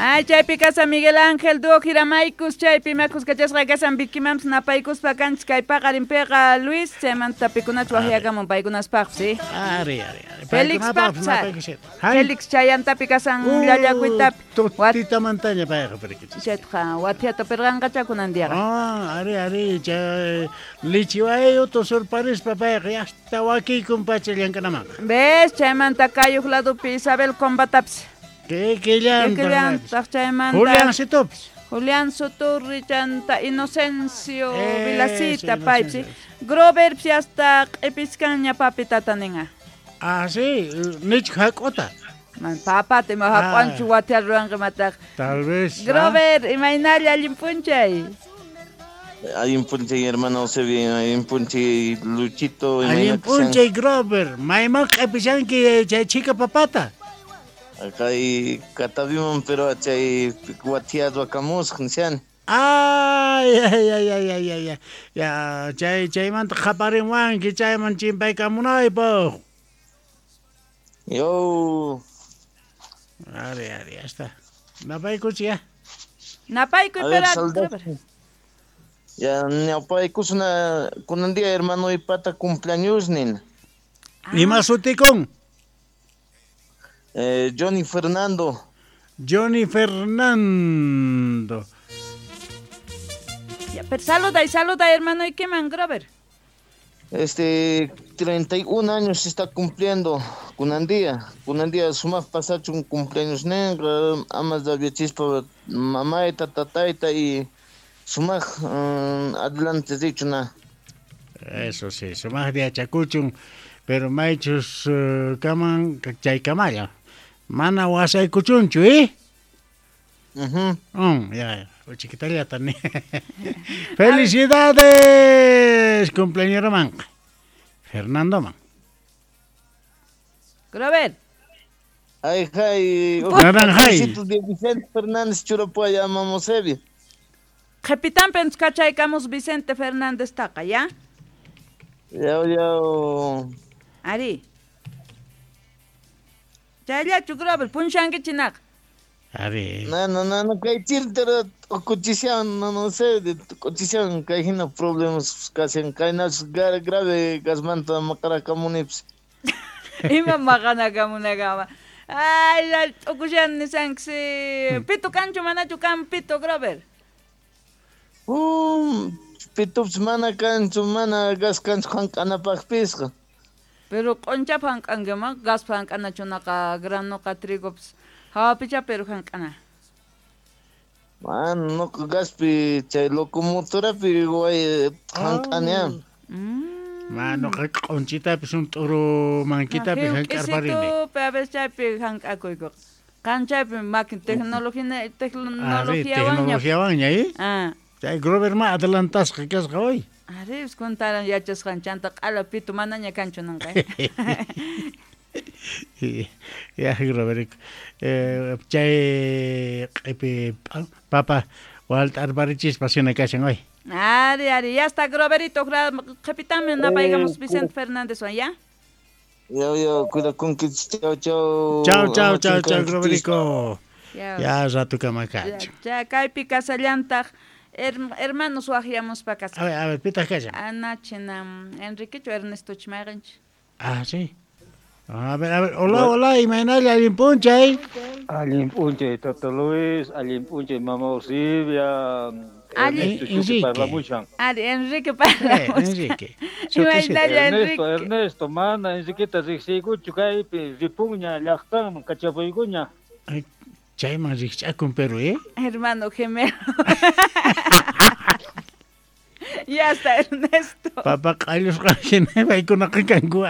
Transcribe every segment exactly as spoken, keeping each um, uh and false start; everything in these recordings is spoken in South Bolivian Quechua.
Ay, chaypi kasa Miguel Ángel Dúo Jiramaykus, chaypi makus kachasqa kasan Vikimamps napaykuspa kanchis kay paqarinpiqa Luis, chaymanta pikunachu waqyakamun paykunaspaqpis, ¿sí? Ari, ari, ari. Félix Paqsa. Félix chayantapi kasan llallakuytapi. Tutamantaña payqa perikichis. Chaytaqa wathiata pirqanqacha kunan diaqa. Ah, ari, ari, chay lichiwayo tusurparispa payqa hasta wakiykun pacha llank'anamanqa. ¿Ves? Chaymanta kayuq ladupi Isabel Combatapis. Kikillantaq chaymanta Julián Situpis. Julián Soturri chanta Inocencio Vilacita paypis. Grover hasta q'ipiskanña papitata ninqa. Ah, sí, nichka hak'uta. Man papata ima hak'wanchu wathiar ruwanqa imataq. Tal vez. Grover, imaynalla allin p'unchay. Allin p'unchay hermano Eusebio, allin p'unchay Luchito. Allin p'unchay Grover, mayman q'ipishanki chay chika papata. Kay Cataviman pero chay wathiado akamusaq nishan. Ay, ay, ay, ay, ay, ay, ya, chay chaymanta qaparinwanki chayman chimpaykamunaypaq. Yo. Ari, ari, ya está. Napaykuchi ya. Napaykuy pero. Ya napaykusuna kunan día hermano ipata cumpleaños nin. Ima sutikun? Eh, Johnny Fernando. Johnny Fernando. Ya, pero saluda y saluda, hermano, ¿y qué man, Grover? Este, treinta y un años se está cumpliendo, kunandía, kunandía, sumaf pasacho un cumpleaños negro, amas de chispa, mamaita, tataita y sumaf um, adelante dicho na. Eso sí, sumaf de achacuchun, pero maichus uh, kaman chaykamalla. Mana wasaykuchunchu, ¿eh? Uh-huh. Mm, ya, chiquitallata ni. ¡Felicidades! Cumpleañero man. Fernando man. Grover. Ay, ay. Naranjay. De Vicente Fernández Churapuaya Mamosevia. Capitán Penskachaykamus Vicente Fernández taqa, ¿ya? Ya, ya. Ari. Chayllachu Grover, punchankichinak. Ari. No, no, no, no, kay chirtera kuchishan, no, no sé, kuchishan, kay hina problemas kasan, kay nas grave gasmanta makarakamunips. Ima makanakamunakama. Ay, tukushan nisanksi. Pito kanchu manachu kan pito Grover. Um, pitups mana kanchu mana gas kanchu hank'anapaqpisqa. Pero q'unchap hank'ankima gas hank'anachunaqa granoqa trigops hawapicha pero hank'ana. Man, noqa gaspi chay locomotorapi way hank'aniam. Man, noqa q'unchitapis un t'uru mankitapi hank'arparini. A veces chaypi hank'akuykuqa. Qan chaypi makin tecnología tecnologiawanña. Tecnologiawanña, ¿eh? Ah. Chay Grover ma adelantasqa kasqa hoy. Ari, contaran yachasqan chanta q'ala pitu manaña kanchu nanqa. Ya Grover eh chay q'ipi papa walt'arparichispa sina kashan hoy. Ari, ari, ya está Groverito, qhipitami napaykamos Vicente Fernández wan, ya. Yo, yo, cuidakunkichis, chao, chao. Chao, chao, chao, chao, Groverico. Ya rato kamakacho. Ya, kaypi kasallantaq. Hermanos waqyamuspa kasa. A ver, a ver, pitaq kashan. Anachina Enriquechu Ernesto chimayqanchik. Ah, sí. A ver, a ver, hola, hola, imaynalla allin p'unchay. Allin p'unchay, Tata Luis, allin p'unchay, Mama Eusebia. Allin Enrique parlamushan. Ari, Enrique parlamushan. Enrique. Imaynalla Ernesto, Ernesto, mana Enriqueta riqsiykuchu kaypi ripunña llaqtanman kachapuykuña. Chayman riqch'akun pero, ¿eh? Hermano gemelo. Ya está, Ernesto. Papá q'allusqa hina paykunaqa kanku.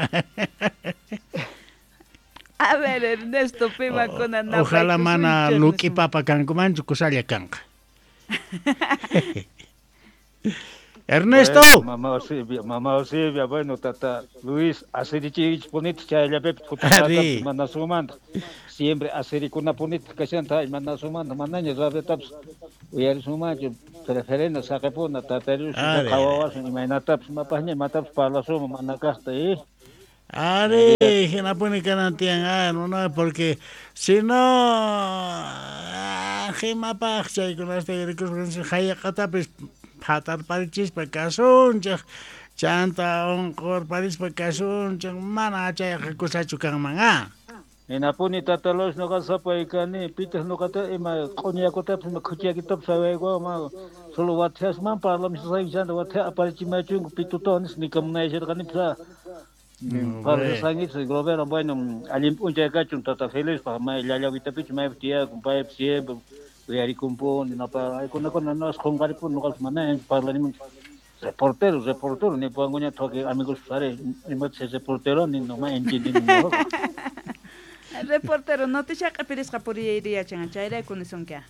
A ver, Ernesto, pimakuna napaykusunchik. Ojalá mana luq'i papa kankumanchu kusalla kanqa. Ernesto. Bueno, mamá Eusebia, mamá Eusebia, bueno, tata Luis, asirichich punita chayllapipi kutipatapis mana sumanta. Siempre asirikunapunitaj kashanta mana sumanta, manaña radiotapis uyarisumanchu, preferena saqipuna tata Luis qhawawasun imaynatapis mapasña imatapis parlasuma mana kaqta, eh. Ari, hinapuni kanan tiyan, ah, no, no, porque si no, Imapaj, imapaj chaykunasta yurikuspa hayaqatapis phatarparichispa kasunchej, chanta unqurparispa kasunchej, mana chayqa kusachu kanman ah. Hinapuni tata Luis noqa sapay kani, pitaq noqata ima q'uñakutapis ima khuchiyakitapis sawaykuwan solo wathiasman parlamusayki chanta wathia aparichimachunku pitutawan nispa nikamunayasharqanipis ah. Parlasqankichis Grovera, bueno, allin p'unchay kachun tata Felispaq may llallawitapichu maypi tiyakun paypis siempre uyarikumpuni napa aykunakuna noqas qunqaripuni noqapis mana parlanimunchu. Reportero, reportero, nipuwankuñataq wakin amigos ari imatachus reportero ni no ma entiendini. Reportero, noticia q'ipirisqa puriyayri yachan, chayrayku nisunki.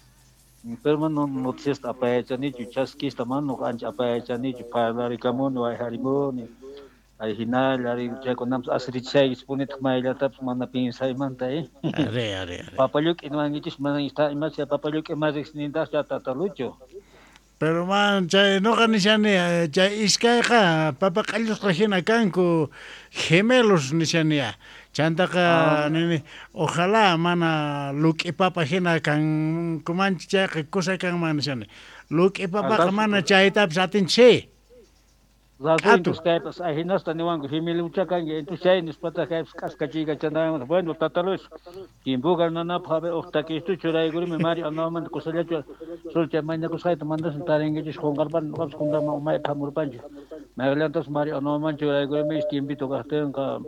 Pero mana noticiasta apayachanichu, chaskista mana nuqa ancha apayachanichu, parlarikamuni, wayharimuni, ay hinalla, ari chaykunapas asirichishaykichispunitaq mayllatapis mana pinsaymanta, eh. Ari, ari, ari. Papalluk'i niwankichis, mana imacha papalluk'i ima riqsinintaqchu tata Lucho. Pero man, chay noqa nishani, chay iskayqa papa q'allusqa hina kanku, gemelos nishaniya. Chantaqa nini, ojalá mana luk'i papa hina kankumanchu chayqa kusa kanman nishani. Luk'i papaqa mana chaytapis atinchik. Razón, kaypas ajinasta niwanku gemelucha kanki, entonces chay nispataq kaypas k'askachiykachanaymanta. Bueno, tata Luis, tiempoqa nanapaq a ver uq takistuchu churaykurimi Mario Anawamanta kusallachu sulcha mañakusqayta mandasun tarinkichis qunqarpani noqapis qunqarman umaypi hamurpanchik. Mayqillantas Mario Anawaman churaykurimi tiempito kaqtinqa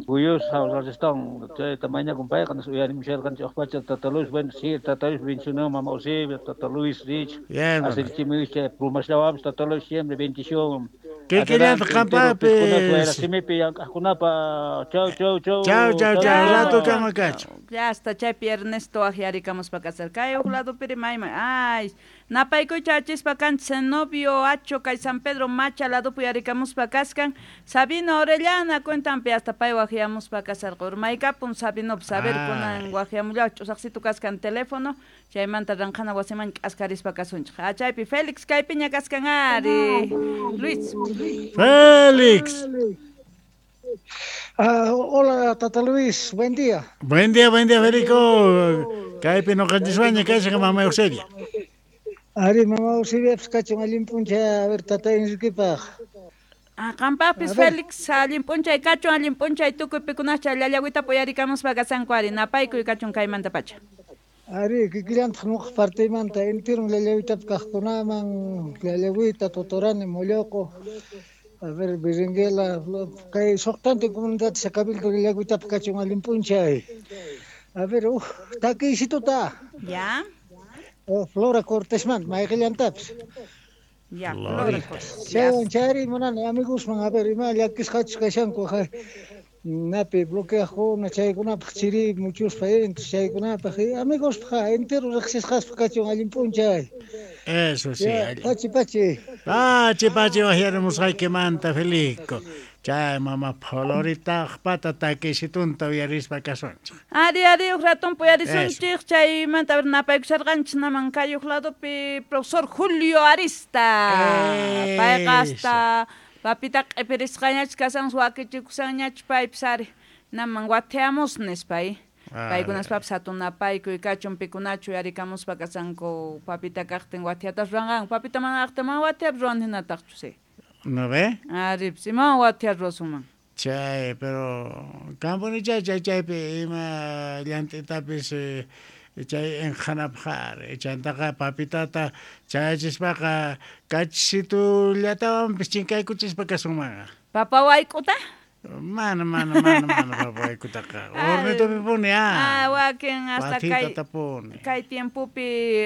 Guyus hawsarchistawan chayta mañakun payqa nispa uyarimusharqanchik uq pacha tata Luis, bueno, sí, tata Luis bendicionó mama Eusebia, tata Luis Rich, asirichimuy chay plumasllawanpis tata Luis siempre bendición. Kikillantaq qampapis. Simipi llank'aqkunapa. Chau, chau, chau. Chau, chau, chau, rato kama kachu. Ya hasta chaypi Ernesto ajyarikamuspa kasar. Kay uq ladupiri mayman. Ay, napaykuy chachispa kanchis Zenobio Acho kay San Pedro Macha ladupi yarikamuspa kaskan. Sabino Orellana cuentanpi hasta pay wajyamuspa kasarqa. Urmaykapun Sabino saber kunan wajyamullaw ch'usaqsitu kaskan teléfono. Chaymanta ranqhana wasiman k'askarispa kasunchik. Ah, chaypi Félix kaypiña kaskan ari. Luis. Félix. Uh, hola, Tata Luis, buen día. Buen día, buen día, Federico. Kaypi noqanchiswaña kashan mama Eusebia. Ari, mama Eusebia, pues kachun allin p'unchay, a ver, tata Enriquepaq. Ah, qampapis Félix, allin p'unchay kachun, allin p'unchay tukuy pikunacha llallawita puyarikamuspa kasanku ari, napaykuy kachun kaymanta pacha. Ari, kikillantaq nuqa partimanta entero llallawitapi kaqkunaman, llallawita, Totorani, Molloqo, a ver, Berenguela, kay suqtantin comunidad Cabildo llallawitapi kachun allin p'unchay. A ver, uj, takiysituta. Ya. Oh, Flora Cortesman, mayqillantapis. Ya, Flora Cortés. Chaywan chayri munani amigosman, a ver, ima llakisqachus kashanku, napi bloqueaqkuna chaykunapaq chiri muchuspa entonces chaykunapaq amigospaq entero riqsisqaspaq kachun allin p'unchay. Eso sí. Pachi pachi. Pachi pachi wajyarimusqaykimanta Felico. Chay mama Floritaqpata takisitunta uyarispa kasunchik. Ari ari uq ratun puyarisunchik chaymanta a ver napaykusharqanchik naman kay uq ladopi profesor Julio Arista. Payqa hasta papita q'ipirisqañach kasan wakichikusanñach paypis ari naman wathiamus nispa paykunaspapis hatun napaykuy kachun pikunachu yarikamuspa kasanku papita kaqtin wathiatas ruwanqanku papita mana kaqtin mana wathiapis ruwan hinataqchu sí. ¿No ve? Ari, imawan wathiar ruwasunman. Chay, pero kanpuni chay chay chaypi ima llant'itapis chay enqhanapaq ari chantaqa papitata chayachispaqa kachisitullatawanpis chinkaykuchispa kasunmanqa. Papa wayk'uta? Mana, mana, mana, mana papa wayk'utaqa. Hornitupipuni ah. Ah, wakin hasta kay kay tiempopi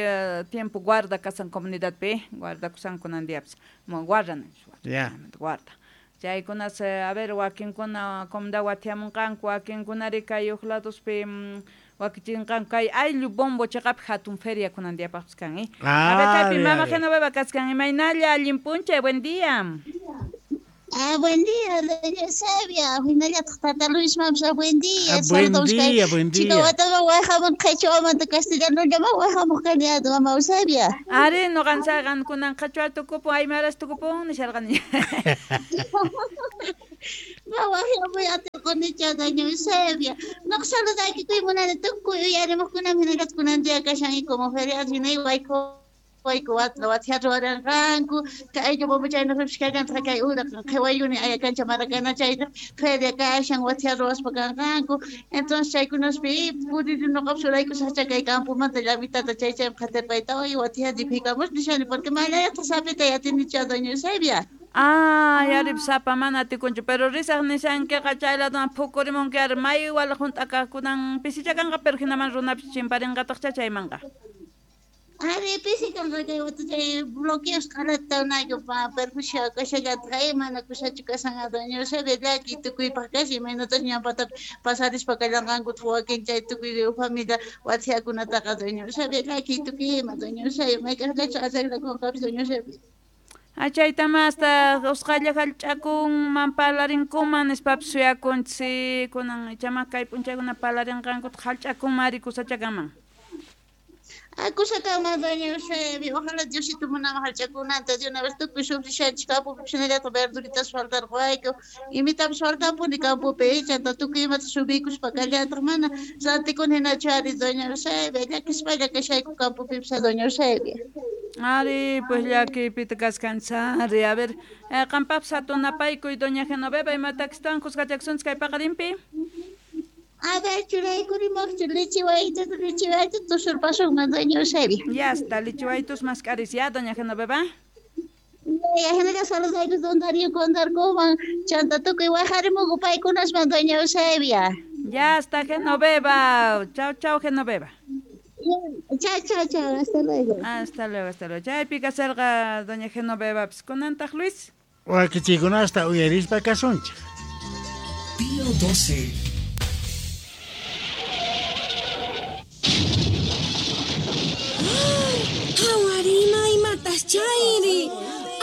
tiempo guarda kasan comunidadpi, guarda kusan kunan diapis. Guarda, ya. Guarda. Chaykunas, a ver, wakinkuna comunidad wathiamunqanku, wakinkunari kay uq ladospi wakichinqanku kay ayllu bombo chiqapi hatun feria kunan diapaqpis kan, eh. A ver, kaypi mama Genoveva kaskan, imaynalla allin p'unchay, buen día. Ah, buen día, doña Eusebia. Hinallataq tata Luis Mamsa, buen día. Ah, buen día, buen día. Chica watama wajamun qhichwamanta castellanollama wajamuq kani mama Eusebia. Ari, noqanchayqan kunan qhichwa tukupun, aymaras tukupun nisharqani. Ma wajamuy atiqunicha doña Eusebia. Noq saludaykikuy munani tukuy uyarimuqkunam hinallataq kunan día kashan como feriado hinay wayku. Wayku watya ruwaranqanku kay ayllu kallantaj kay ura qhiwayuni ayakancha Maracaná chayta feria kashan watya ruwaspa kanqanku entonces chaykunaspi puriri noqapis uraykusaqcha kay campomanta llamitata chay chaymi qhatirpayta watya dipikamus nishani porque mayllayataq sapita yatinicha doña Eusebia. Ah, yarip sapa mana atikunchu, pero risaq nishankiqa chay laduman phukurimunki ari may wala hunt'akaqkunan pisichakanqa pero hinaman runapis chimparinqataqcha chaymanqa. Ari pisi kanqa kay wata chay bloqueos qalata unayku perjuicio kashallatqa mana kusachu kashan doña Eusebia llaki tukuypaq kashan imaynatas ñanpata pasarispa kallanqankutaq wakin chay tukuy familia wathiakunataqa doña Eusebia llaki tukuy ima doña Eusebia mayk'aqllachu arreglakunqapis doña Eusebia. Achaytama hasta usqhaylla hallch'akunman parlarinkuman nispapis suyakunchik kunan ichama kay p'unchaykuna parlarinqankutaq hallch'akunman ari kusachakanman. Akusakama doña Eusebia, ojalá Diosito munama hallch'akunanta de una vez tukuy sufrishanchik campopi hinallataq verduritas faltarqayku imitapis faltanpuni campopi chanta tukuy imata subiykuspa kallantaq mana rantikuna hinachu ari doña Eusebia llakispalla kashayku campopipis doña Eusebia. Ari, pues llakiypita kaskanchari. A ver, eh, qampapis hatunapaykuy doña Genoveva imatakistawan kuskachakusunchik kay paqarinpi. A ver, churaykurimaqchu lichiwayta, lichiwayta tusurpasunman doña Eusebia. Ya está, lichiwaytus mask'aris ya, doña Genoveva. Ya, hinalla saludayku don Darío Condarcoman, chanta tukuy wajarimunku paykunasman doña Eusebia. Ya está, Genoveva. Chao, chao, Genoveva. Chao, chao, chao. Hasta luego. Hasta luego, hasta luego. Chaypi kasarqa doña Genoveva. Pues kunantaq Luis. Wakichikunasta uyarispa kasunchik. Pío doce. Hawarima imatas chayri.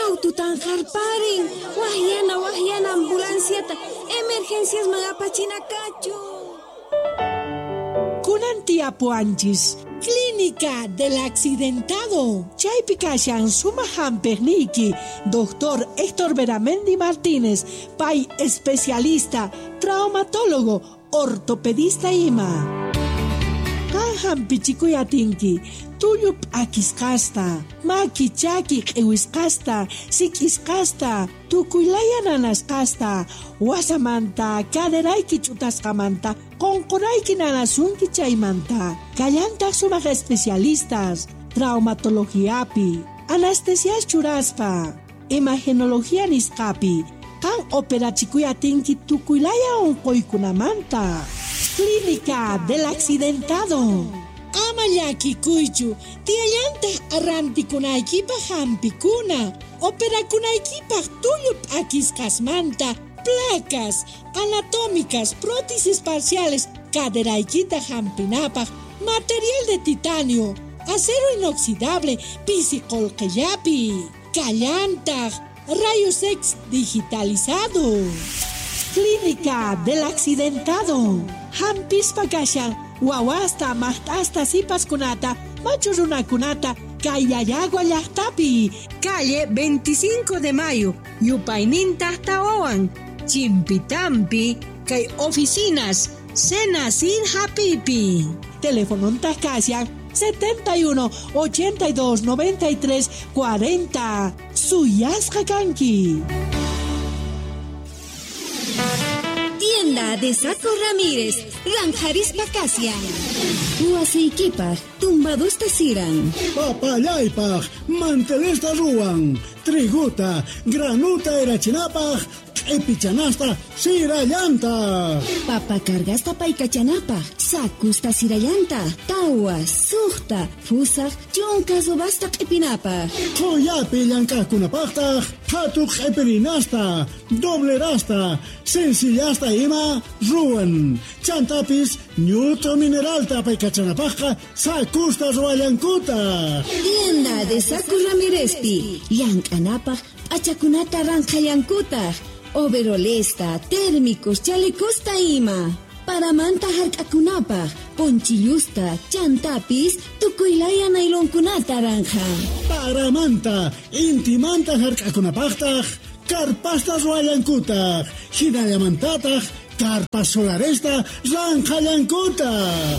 Aututan harparin. Wahyana, wahyana ambulanciata. Emergencias magapachinakachu. Kunan tiapuanchis. Clínica del Accidentado. Chaypi kashan suma hamperniki. Doctor Héctor Beramendi Martínez, pay especialista, traumatólogo, ortopedista ima. Kan hampichikuy atinki. Tullu p'akisqasta, maki chaki q'iwisqasta, sik'isqasta, tukuylaya nanasqasta, wasamanta, caderayki ch'utasqamanta, qunqurayki nanasunki chaymanta. Kallantaq sumaq especialistas, traumatologiapi, anestesias churaspa, imagenología nisqapi, kan operachikuy atinki tukuylaya unquykunamanta. Clínica del Accidentado. Ama llakikuychu, tiyallantaq arrantikunaykipaq hampikuna, operakunaykipaq tullu p'akisqasmanta, placas anatómicas, prótesis parciales, caderaykita hampinapaq, material de titanio, acero inoxidable, pisi qolqillapi, kallantaq, rayos X digitalizado. Clínica del Accidentado. Hampispa kashan, wawasta, maqt'asta, sipaskunata, machu runakunata, kay Llallagua llaqtapi. Calle veinticinco de Mayo, Yupayninta Tawawan, Chimpitampi, kay oficinas, Senacid Hapipi. Teléfono kashan setenta y uno, ochenta y dos, noventa y tres, cuarenta. Suyasqa kanki. Tienda de Saco Ramírez, Ranjarispa Casia. Huaseikipaj, tumbadusta siran. Papallaypaj, mantelesta ruwan. Triguta, granuta erachinapaj, q'ipichanasta sirallanta. Papa cargasta paykachanapaj, sakusta sirallanta, tawa, suqta, fusaq, chunka subasta q'ipinapaj. Qhuyapi llank'aqkunapaqtaq, qhatu q'ipirinasta, doblerasta, sencillasta ima ruwan. Chantapis ñut'u mineralta paykachanapaqqa sakusta ruwallankuta. Tienda de Saco Ramírezpi, llank'anapaq p'achakunata ranqhallankutaq. Overolesta, térmicos, chalecosta ima. Paramanta hark'akunapaj, ponchillusta, chantapis, tukuylaya nailonkunata ranja. Paramanta, intimanta hark'akunapajtaj, karpasta ruwallankutaj, hinallamantataj, karpas solaresta ranjallankutaj.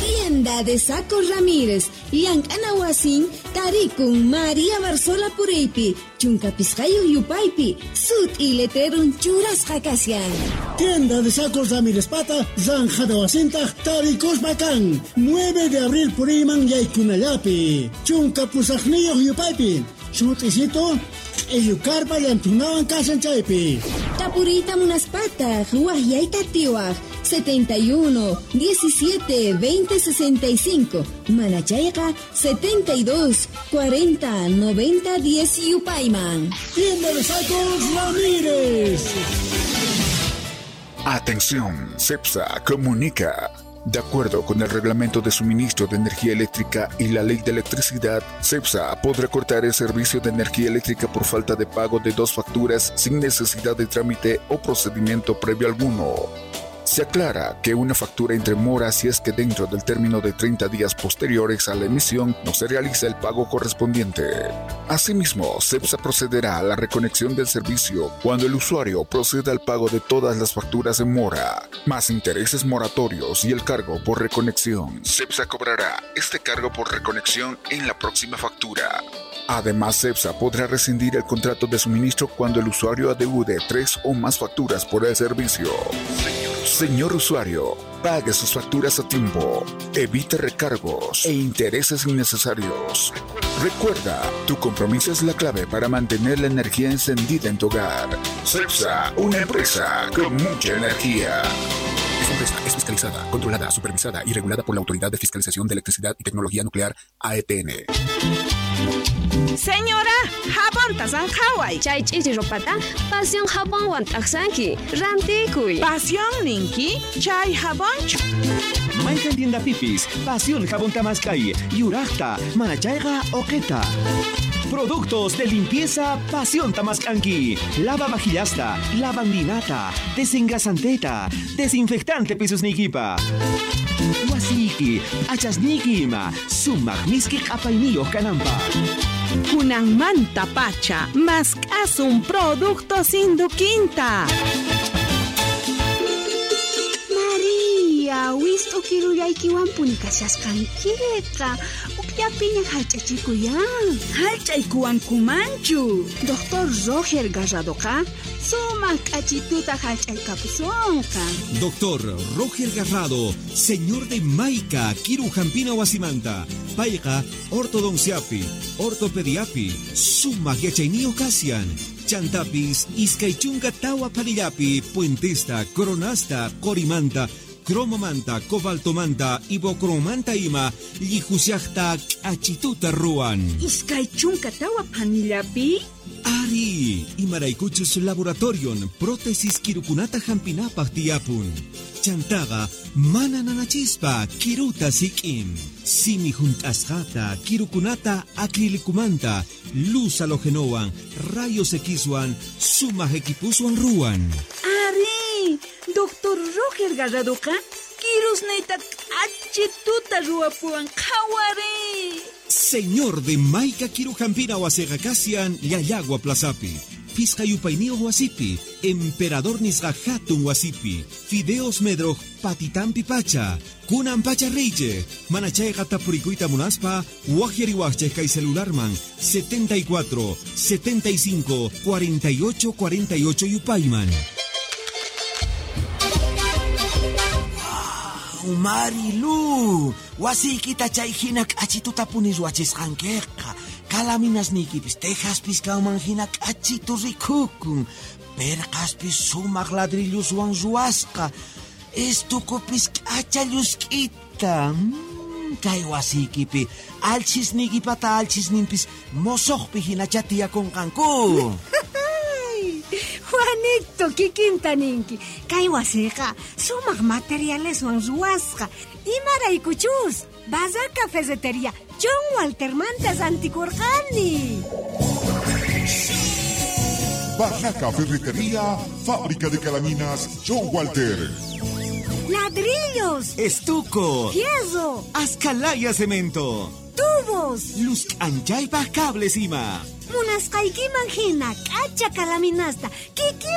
Tienda de Saco Ramírez, Llank'ana wasin, tarikun María Barzola Puriypi, chunka pisqayuq yupaypi, sut'i letrerun churasqa kashan. Tienda de Sacos Ramírez pata, ranjada wasintaj, tarikuspa kan, nueve de abril puriyman yaykunallapi, chunka pusaqniyuq yupaypi, sut'isito, q'illukarpa llantunawan kashan chaypi. Tapuriyta munaspataq, waqyayta atiwaq, setenta y uno, diecisiete, veinte, sesenta y cinco, Manachayqa, setenta y dos, cuarenta, noventa, diez yupayman. Tienda de Sacos Ramírez. Atención, CEPSA comunica. De acuerdo con el Reglamento de Suministro de Energía Eléctrica y la Ley de Electricidad, CEPSA podrá cortar el servicio de energía eléctrica por falta de pago de dos facturas sin necesidad de trámite o procedimiento previo alguno. Se aclara que una factura entre mora si es que dentro del término de treinta días posteriores a la emisión no se realiza el pago correspondiente. Asimismo, CEPSA procederá a la reconexión del servicio cuando el usuario proceda al pago de todas las facturas en mora, más intereses moratorios y el cargo por reconexión. CEPSA cobrará este cargo por reconexión en la próxima factura. Además, CEPSA podrá rescindir el contrato de suministro cuando el usuario adeude tres o más facturas por el servicio. Señor usuario, pague sus facturas a tiempo, evite recargos e intereses innecesarios. Recuerda, tu compromiso es la clave para mantener la energía encendida en tu hogar. CEPSA, una empresa con mucha energía. Esta empresa es fiscalizada, controlada, supervisada y regulada por la Autoridad de Fiscalización de Electricidad y Tecnología Nuclear, A E T N. Señora, jabonta sanjaway. Chay ch'ichi ropata, pasión jabonwan t'aqsanki, rantikuy. Pasión ninki, chay jabonchu. Mayqan tienda pipis, pasión jabón tamaskay, yuraqta, manachayqa oqeta. Productos de limpieza Pasión Tamascanqui. Lava vajillasta, lavandinata, desengrasanteta, desinfectante pisusnikipa. Wasiki, achasniki ima, sumaq miski q'apayniyuq kananpaq. Kunanmanta pacha, mask'asun productos Induquinta. María, wist'u kirullaykiwanpuni kashasqankiqa. Ukllapiña hallch'achikuyan. Hallch'aykuwankumanchu. Doctor Roger Garradoqa sumaq k'achituta hallch'aykapusunqa. Doctor Roger Garrado, señor de Maica, Kiru Jampina Wasimanta. Payqa ortodonciapi, ortopediapi, sumaq yachayniyuq kashan. Chantapis, iskay chunka tawa panillapi, puentesta, coronasta, qorimanta, cromomanta, cobaltomanta, ibocromanta ima, llijusiaqta k'achituta ruwan. Iskay chunka tawa panillapi? Ari, imaraykuchus laboratorion, prótesis kirukunata hampinapaq tiyapun. Chantaqa mana nanachispa kiruta sik'in. Simi junt'asqata, kirukunata acrilicumanta, luz halogenowan, rayos Xwan, sumaq equipuswan ruwan. Ari, Doctor Roger Garradoqa kirusniyta k'achituta ruwapuwan qhawari. Señor de Maica Kirujampina wasiqa kashan Llallagua Plazapi. Pisqa yupayniyuq wasipi, Emperador nisqa hatun wasipi, Fideos Medroj patitampi pacha, kunan pacha reyche, manachayqa tapurikuyta munaspa, waqyariwaqchej kay celularman setenta y cuatro, setenta y cinco, cuarenta y ocho, cuarenta y ocho yupayman. Wow, Marilu, wasiykita chay hina k'achituta puni ruwachisqankiqa. Kalaminasniykipis tejaspis kanman hina k'achitu rikukun. Perqaspis sumaq ladrilluswan ruwasqa. Estukupis k'acha llusk'ita. Mm, kay wasiykipi alchisniykipata alchisninpis mosoqpi hinacha tiyakunqanku. Juanito, kikinta ninki. Kay wasiqa sumaq materialeswan ruwasqa. Imaraykuchus, Bazaca Ferretería John Walter manta rantikurqani. Barraca Ferretería, Fábrica de Calaminas, John Walter. Ladrillos. Estuco. Fierro. Ascalaya cemento. Tubos. Luz anchaypaj cables ima. Munasqaykiman hina k'acha kalaminasta. Kiki